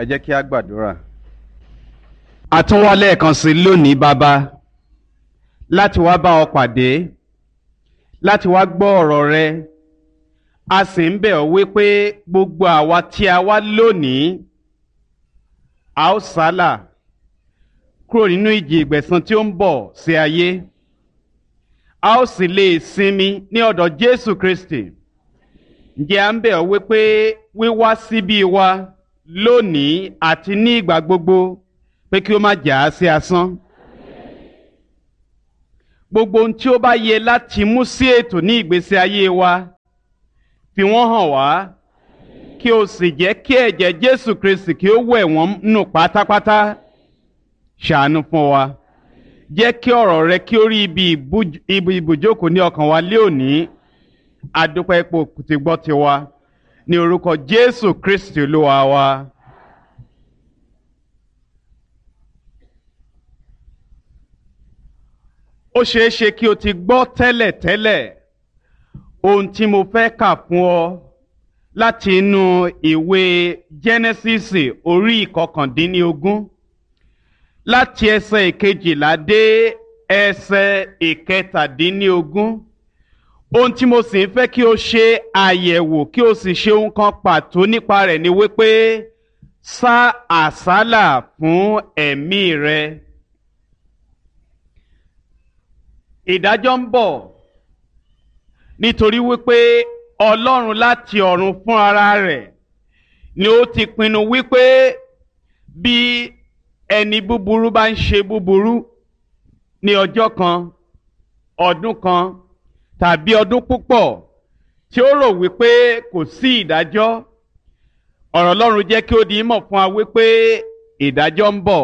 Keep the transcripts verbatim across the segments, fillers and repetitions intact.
Ẹ jẹ́ kí a gbàdúrà. A tún wá lẹ́ẹ̀kan sí lónìí, Bàbá, láti wá bá ọ pàdé, láti wá gbọ́ ọ̀rọ̀ rẹ. A sì ń bẹ̀ ọ́ wípé gbogbo àwa tí a wá lónìí, a ó sálà kúrò nínú ìjì ìgbẹ̀san tí ó ń bọ̀ sí ayé. A ó sì lè sinmi ní ọ̀dọ̀ Jésù Kristi. Ǹjẹ́ à ń bẹ̀ ọ́ wípé wíwá síbí wa lónìí àti ní ìgbà gbogbo pé kí ó má jà á sí asán. Gbogbo ohun tí ó bá yẹ láti mú sí ètò ní ìgbésí ayé wa, fi wọ́n hàn wá, kí o sì jẹ́ kí ẹ̀jẹ̀ Jésù Kristi kí ó wẹ̀ wọ́n nù pátápátá. Ṣàánú fún wa. Jẹ́ kí ọ̀rọ̀ rẹ kí ó rí ibi ibi ibùjókòó ní ọkàn wa lé òní. Adúpẹ́ ipò tí gbọ́ tiwa. Ní orúkọ Jésù Kristi Olúwa wa. Ó ṣeé ṣe kí o ti gbọ́ tẹ́lẹ̀tẹ́lẹ̀ ohun tí mo fẹ́ kà fún ọ láti inú ìwé Jẹ́nẹ́sísì orí ìkọkàndínlógún, láti ẹsẹ̀ ìkejìlá dé ẹsẹ̀ ìkẹtàdínlógún. Ohun tí mo sì ń fẹ́ kí o ṣe àyẹ̀wò kí o sì ṣe ohun kan pàtó nípa rẹ̀ ni wípé sá àsálà fún ẹ̀mí rẹ. Ìdájọ́ ń bọ̀ nítorí wípé Ọlọ́run láti ọ̀run fún ara rẹ̀ ni ó ti pinnu wípé bí ẹni búburú bá ń ṣe búburú ní ọjọ́ kan, ọdún kan tàbí ọdún púpọ̀ tí ó rò wípé kò sí ìdájọ́, ọ̀rọ̀ Ọlọ́run jẹ́ kí ó di mọ̀ fún wa wípé ìdájọ́ ń bọ̀.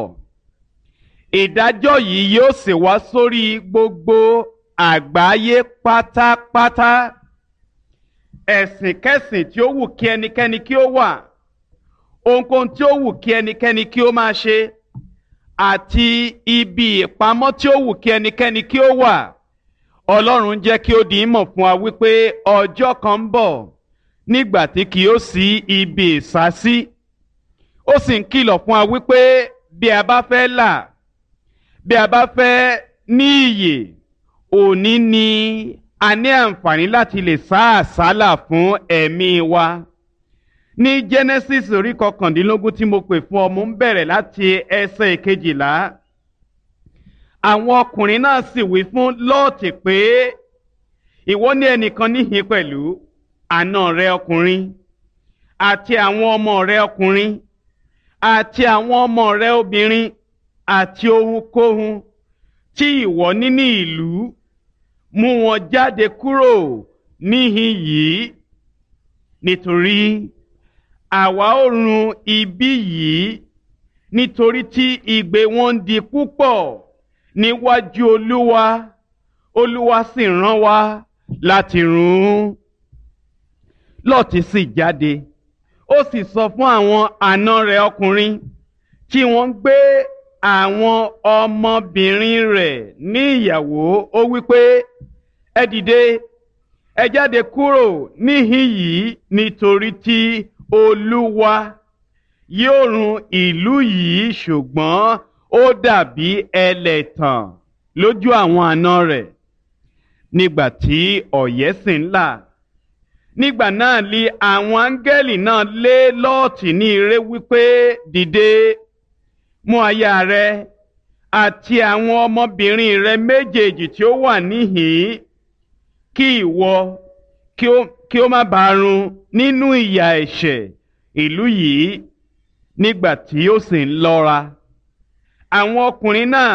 Ìdájọ́ yìí yóò sì wá sórí gbogbo àgbáyé pátápátá. Ẹ̀sìnkẹ́sìn tí ó wù kí ẹnikẹ́ni kí ó wà, ohunkóhun tí ó wù kí ẹnikẹ́ni kí ó máa ṣe, àti ibi ìpamọ́ tí ó wù kí ẹnikẹ́ni kí ó wà, Ọlọ́run jẹ́ kí ó di mọ̀ fún wa wípé ọjọ́ kan ń bọ̀ nígbà tí kì yóò sí ibi ìsásí. Ó sì ń kìlọ̀ fún wa wípé bí a bá fẹ́ là, bí a bá fẹ́ ní ìyè, òní ni a ní àǹfààní láti lè sá àsálà fún ẹ̀mí wa. Ní Genesis orí kọkàndínlógún tí mo pè fún ọ, mo ń bẹ̀rẹ̀ láti ẹsẹ̀ ìkejìlá. Àwọn ọkùnrin náà sì wí fún Lọ́ọ̀tì pé, ìwọ ní ẹnìkan níhìn pẹ̀lú àna rẹ ọkùnrin àti àwọn ọmọ rẹ ọkùnrin àti àwọn ọmọ rẹ obìnrin àti ohunkóhun tí ìwọ ní ní ìlú, mú wọn jáde kúrò níhìn yìí, nítorí àwa ó run ibi yìí, nítorí tí igbe wọn ń di púpọ̀ níwájú Olúwa, Olúwa sì rán wa láti run ún. Lọ́ọ̀tì sì jáde, ó sì sọ fún àwọn àna rẹ̀ ọkùnrin tí wọ́n ń gbé àwọn ọmọbìnrin rẹ̀ ní ìyàwó, ó wí pé, ẹ dìde, ẹ jáde kúrò níhìn yìí, nítorí tí Olúwa yóò run ìlú yìí. Ṣùgbọ́n ó dàbí ẹlẹ́tàn lójú àwọn àna rẹ̀. Nígbà tí ọ̀yẹ́ sì ń là, nígbà náà li àwọn áńgẹ́lì náà lé Lọ́ọ̀tì ní ire wípé, dìde, mú aya rẹ àti àwọn ọmọbìnrin rẹ méjèèjì tí ó wà níhìn-ín, kí ìwọ kí ó má bàa run nínú ìyà ẹ̀ṣẹ̀ ìlú yìí. Nígbà tí ó sì ń lọ́ra, àwọn ọkùnrin náà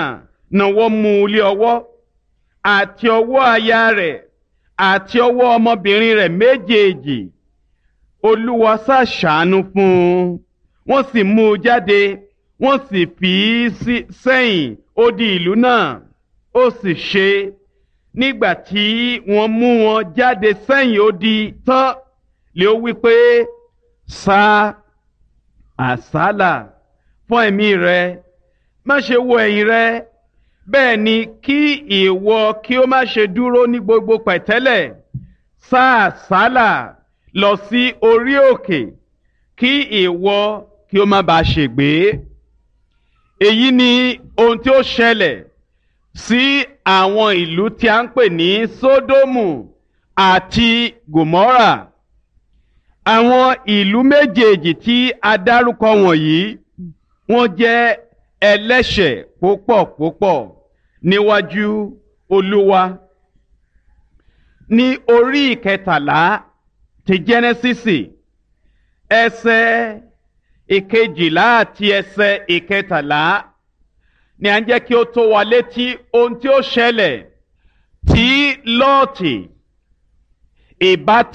nawọ́ mú u lé ọwọ́, àti ọwọ́ aya rẹ̀ àti ọwọ́ ọmọbìnrin rẹ̀ méjèèjì. Olúwa sá ṣàánú fún un, wọ́n sì mú u jáde, wọ́n sì fi í sẹ́yìn odi ìlú náà. Ó sì ṣe, nígbà tí wọ́n mú wọn jáde sẹ́yìn odi tán, lé ó wí pé, sá àsálà fún ẹ̀mí rẹ, má ṣe wo ẹ̀yìn rẹ, bẹ́ẹ̀ ni kí ìwọ kí ó má ṣe dúró ní gbogbo pẹ̀tẹ́lẹ̀. Sá àsálà lọ sí orí òkè, kí ìwọ kí ó má bàa ṣègbé. Èyí ni ohun tí ó ṣẹlẹ̀ sí àwọn ìlú tí a ń pè ní Sódómù àti Gòmórà. Àwọn ìlú méjèèjì tí a dárúkọ wọ̀nyí wọ́n jẹ́ ẹlẹ́ṣẹ̀ púpọ̀ púpọ̀ níwájú Olúwa. Ní orí ìkẹtàlá ti Jẹ́nẹ́sísì, ẹsẹ̀ ìkejìlá àti ẹsẹ̀ ìkẹtàlá ni à ń jẹ́ kí ó tó wa létí ohun tí ó ṣẹlẹ̀ tí Lọ́ọ̀tì ìbátan.